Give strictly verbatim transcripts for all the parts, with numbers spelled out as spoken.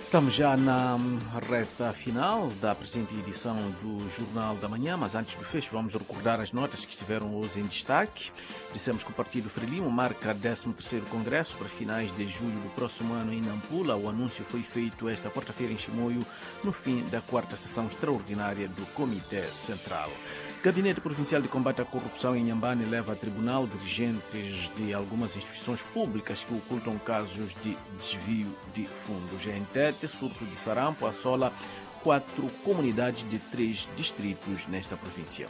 Estamos já na reta final da presente edição do Jornal da Manhã, mas antes do fecho vamos recordar as notas que estiveram hoje em destaque. Dissemos que o partido Frelimo marca décimo terceiro congresso para finais de julho do próximo ano em Nampula. O anúncio foi feito esta quarta-feira em Chimoio, no fim da quarta sessão extraordinária do Comitê Central. Gabinete Provincial de Combate à Corrupção em Inhambane leva a tribunal dirigentes de algumas instituições públicas que ocultam casos de desvio de fundos. Em Tete, surto de sarampo assola quatro comunidades de três distritos nesta província.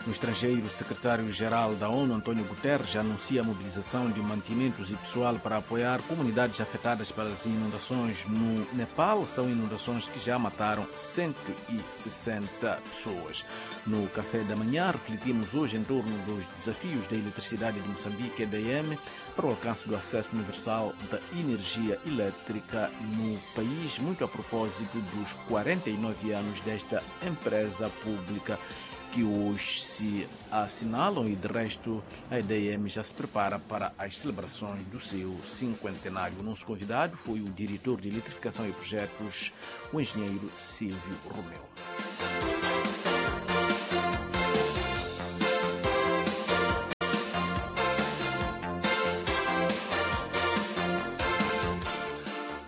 No estrangeiro, o secretário-geral da ONU, António Guterres, anuncia a mobilização de mantimentos e pessoal para apoiar comunidades afetadas pelas inundações no Nepal. São inundações que já mataram cento e sessenta pessoas. No Café da Manhã, refletimos hoje em torno dos desafios da eletricidade de Moçambique, E D M, para o alcance do acesso universal da energia elétrica no país, muito a propósito dos quarenta e nove anos desta empresa pública que hoje se assinalam e, de resto, a E D M já se prepara para as celebrações do seu cinquentenário. O nosso convidado foi o diretor de Eletrificação e Projetos, o engenheiro Silvio Romeu.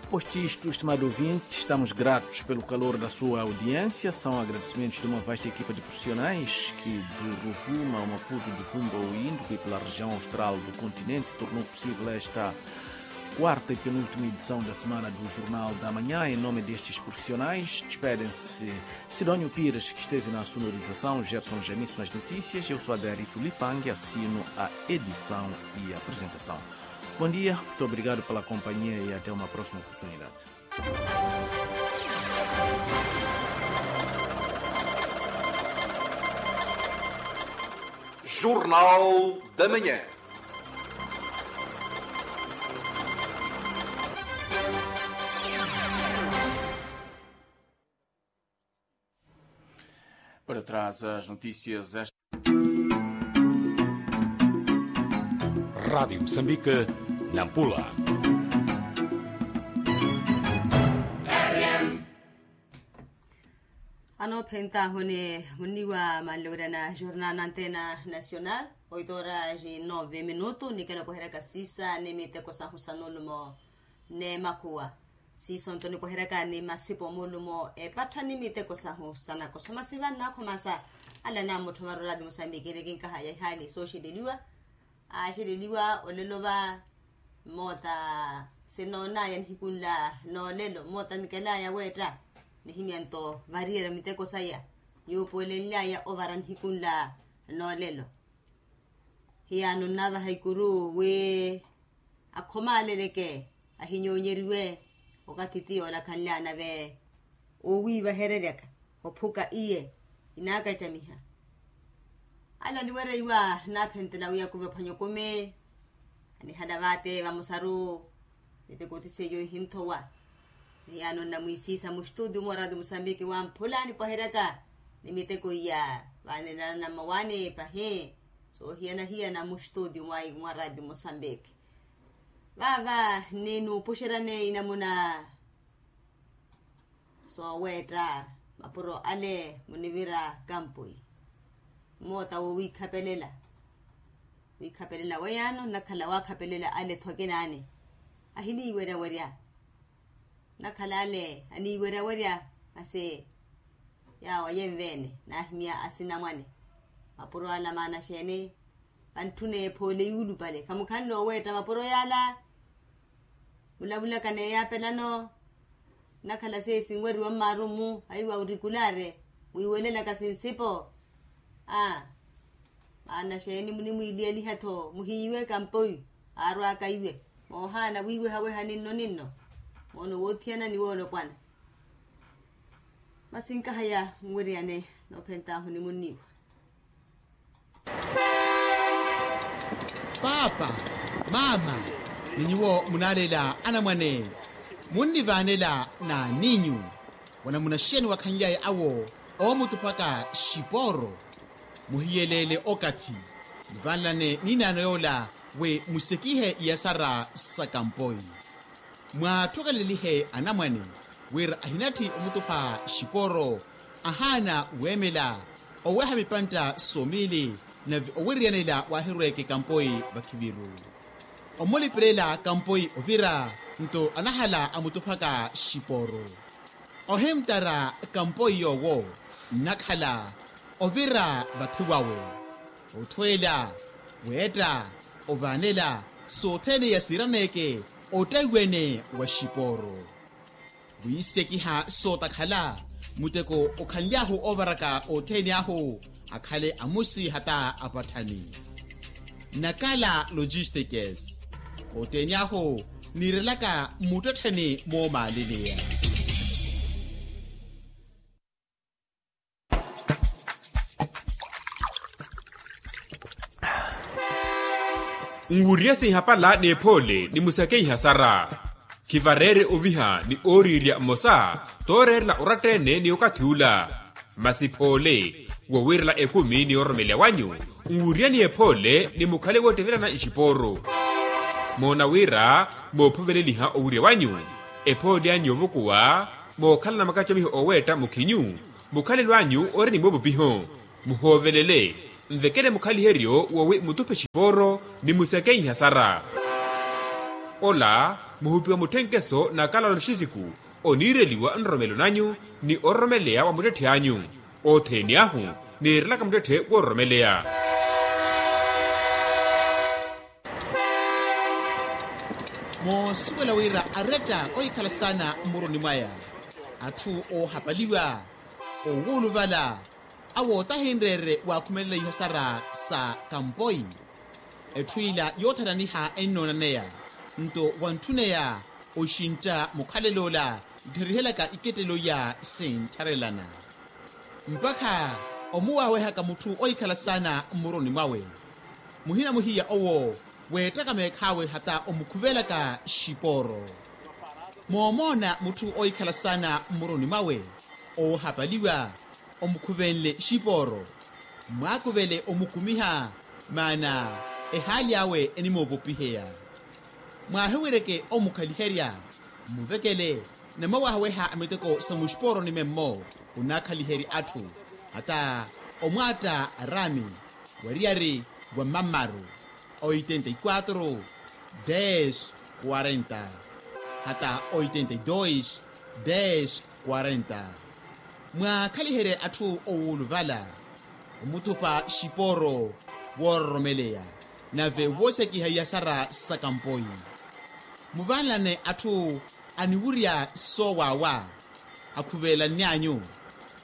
Posto isto, estimado ouvinte, estamos gratos pelo calor da sua audiência. São agradecimentos de uma vasta equipa de profissionais que, do Rovuma ao Maputo, do Vumba ao Índico e pela região austral do continente, tornou possível esta quarta e penúltima edição da Semana do Jornal da Manhã. Em nome destes profissionais, despedem-se Sidónio Pires, que esteve na sonorização, Gerson Janice nas notícias, eu sou Adérito Lipang e assino a edição e apresentação. Bom dia, muito obrigado pela companhia e até uma próxima oportunidade. Jornal da Manhã. Para trás as notícias. Rádio Moçambique, Nampula. Anoophentahuni munniwa manlowirana jornal na antena nacional. Oito horas e nove minuto nikela opoheraka sisa ni miteko sahu sa nulumo n'emakhuwa. Siiso nto nipoheryaka ni masipo muulumo epattha ni miteko sahu sa nakoso masi vannakhomasa. Ala naamutthomari oraati musambiki eri kinkahaya ihaali sooxeleliwa. Aaxeleliwa olelo va. Mmoota sinoonaya nihiku nla noolelo mmoota nikelaya weetta. Nihimya nto variyerya miteko saya. Yuupuwelenlyaya ovara nihiku nla noolelo. Hiyaano nnavaha ikuru wi akhomaaleleke ahinyoonyeriwe. Okathi ti yoolakhanlyana ve owiivahereryaka ophuka iye inaakattamiha. Ala niwereiwa naaphentela wi akuve ophwanya okumi. Anihala vaate vamosaru. Miteko ti seiyo ihinthowa. Hiyaano nnamwiisiisa mustuuti umwe oraati musambiki wamphula nipwaheryaka ni miteko iya vaanelana na mmawaani pahi. Soohiyana-hiyana mustuuti mwa raati musambiki. Vaava nninuupuxeryani inamuna sooweetta mapuro ale munivira kampui. Mmoota wo wiikhapelela. Wiikhapelela weiyaano nnakhala waakhapelela ale-tho akinaani. Ahiniiweryawerya. Nnakhala ale aniiweryawerya. Masi yaawo yenveene naahimya asinamwane. Mapuro ala maana xeeni? Vantthuna ephoole yuulupale khamukhanle oweetta mapuro yaala. Mulavulaka n'eyaapelano. Nnakhala seesi nweriwa mmaaru-mu aiwa urikulaare mwiiwelelaka sinsipo. Aa. Maana xeeni munimwiiliyeliha-tho muhiiwe kampoyu aarwaaka iwe. Moohaana wiiwehaweha ninno ninno. Moono woothiyana ni woolopwana. Masi nkahaya nweriyane noophentaahu ni munniiwa. Paapa, maama, ni nyuwo munaaleela anamwane. Munnivaanela n'aninyu? Wanamuna xeeni wakhanly'aya awo oomutuphaka xipooro? Muhiyeleele okathi. Muvanlane n'inaano yoola wi musekihe iyasara sa kampoi. Mwaathokelelihe anamwane wira ahinatthi omutupha xiporo, ahaana weemela oweeha mipantta somiili, nave owiriyanela waahirweeke kampoi vakhiviru. Omuliperela kampoi ovira, nto anahala amutuphaka xiporo. Ohimtara kampoi yoowo nnakhala ovira vathi wawe, othweela, weetta, ovaanela sothene yasiiraneeke ottaiwene wa xiporo. Wiisekiha sootakhala muteko okhanly'ahu oovaraka othene ahu, akhale amusi hata apatthani. Nakala logistikes, othene ahu niirelaka muttettheni moomaaleleya. Nwuriye sinhapala n'ephoole ni musakeiha sara. Khivareere oviha ni ooriirya mmosa tooreerela oratta-ene ni okathi ula. Masi phoole wowiirela ekumi ni ororomeleya wanyu, nwuriyeni ephoole ni mukhale woottevelana ixipooru. Moona wira moophoveleliha owirya wanyu, ephoole anyu yoovukuwa mookhalana makacamiho ooweetta mukhinyu, mukhalelo anyu ori ni moopupiho. Muhoovelele, nvekele mukhaliheryo wowi mutuphe xipooro ni musakeiha sara. Ola muhupiwa mutthenkeso na kalalo xisiku oniireliwa nroromelo nanyu ni ororomeleya wa muttetthi anyu. Othene ahu niirelaka muttetthi woororomeleya. Moosuwela wira aretta ohikhala saana mmuruni mwaya, atthu oohapaliwa, owuuluvala, awo tahinreere waakhumelela ihasara sa kampoi. Etthu ila yoothananiha ennoonanneya, nto wantthuneya oxintta mukhalel'ola nttherihelyaka ikettelo iya sinttharelana. Mpakha omuwaawehaka mutthu ohikhala saana mmuruni mwawe, muhina muhiya owo weettaka meekh'awe hata omukhuvelaka xipooro. Moomoona mutthu ohikhala saana mmuruni mwawe oohapaliwa, omukhuvenle xipooro, mwaakuvele omukumiha, maana ehaali awe enimoopopiheya. Mwaahiwireke omukhaliherya, mmuvekele, namwawaahaweha a miteko sa muxipooroni memmo onaakhaliherya atthu, hata omwaatta araami, wariyari wa mammaru, oitenta y quatro, des, quarenta, hata oitenta y dos, des, quarenta. Mwaakhaliherye atthu owuuluvala, omuthupa xipooro woororomeleya, nave woosekiha iyasara sa kampoi. Muvanlane atthu aniwurya soowaawa, akhuvelanny'anyu.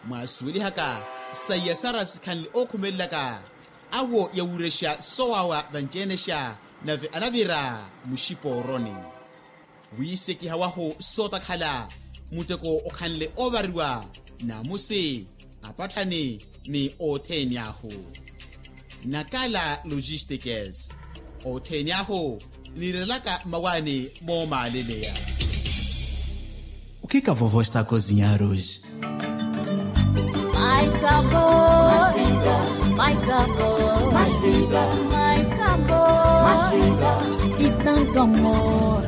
Mwaasuwelihaka sa iyasara sikhanle ookhumelelaka, awo yawurexa soowaawa vanci-enexa, nave anavira muxipooroni. Wiisekiha wahu sootakhala, muteko okhanle oovariwa, naamusi, apatthani, ni othene ahu. Nakala logistikes, othene ahu niirelaka mmawaani moomaaleleya. O que que a vovó está a cozinhar hoje? Mais sabor, mais vida, mais sabor, mais vida, mais sabor, mais vida, e tanto amor.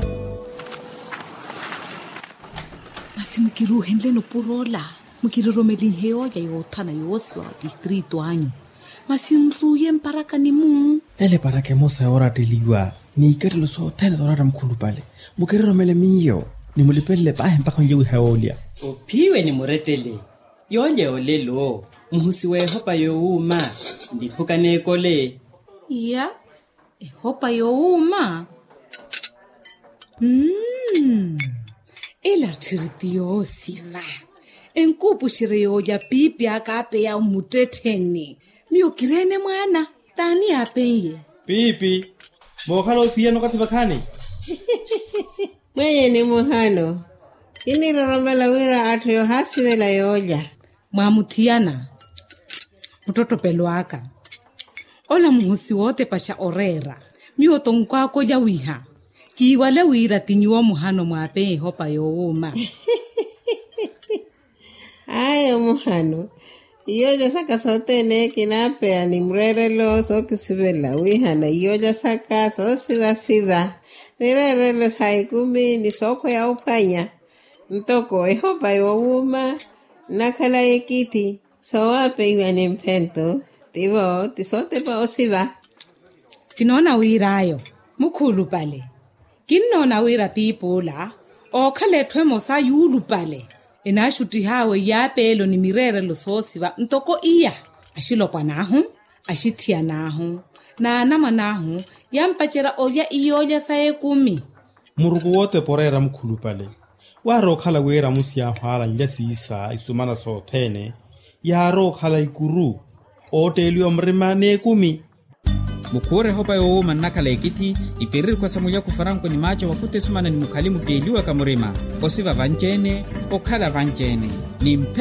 Masi mukiruuhenleni opuro ola, mukiroromelinhe yoolya yoothana yoosiwa wa tistrito anyu. Masi nruuye mparakani-mu. Ele eparaka emosa yooratteliwa, n'ikettelo sothene sooratta mukhulupale. Mukiroromele miyo, ni mulipelele paahi mpakha onlye wiha yoolya. Ophiwe ni murettele, yoolya yoolelo, muhusi w'ehopa yoowuuma, nliphuka n'ekole. Iya, ehopa yoowuuma. Mm. Ela tthiri ti yoosiva. Enkuupuxerye yoolya piipi aka aapeya omuttettheni. Miyo kireene mwaana, t'ani aapen'ye? Piipi, mookhala ophiyana okathi vakhaani. Mwenye ni muhano, kiniroromela wira atthu yoohaasivela yoolya. Mwaamuthiyana muttottopelo aka. Ola muhusi wootepaxa oreera, miyo tonkwaaka olya wiha. Kiiwale wira ti nyuwo muhano mwaapeya ehopa yoowuuma. Ayo muhano, Iyoolya saka sothene kinaapeya ni mureerelo sookisivelela wiihana iyoolya saka soosivasiva, mireerelo sa ekumi ni sookhweya ophwanya. Ntoko ehopa yoowuuma nnakhala ekithi soowapeiwa ni mphento, tivo ti sootepa osiva. Kinoona wir'ayo mukhuulupale. Kinnoona wira piip'ula ookhala etthu emosa yuulupale enaaxuttih'awe iyaapeelo ni mireerelo soosiva ntoko iya. Axilopwan'ahu, axithiyan'ahu, n'anamwan'ahu yampacerya olya iyoolya sa ekumi. Muruku wootepa oreera mukhulupale. Waarookhala wira amusi yaahu aalanlya siisa isumana sothene yaarookhala ikuru ootteeliwa murima n'ekumi. Mukhuure ehopa yoowuuma nnakhala ekithi. Ipererikhwa sa mulyaku faranko ni maaco vakhuta esumana ni mukhali mutteeliwaka murima, osiva vanci-ene, okhala vanci-ene, ni mphe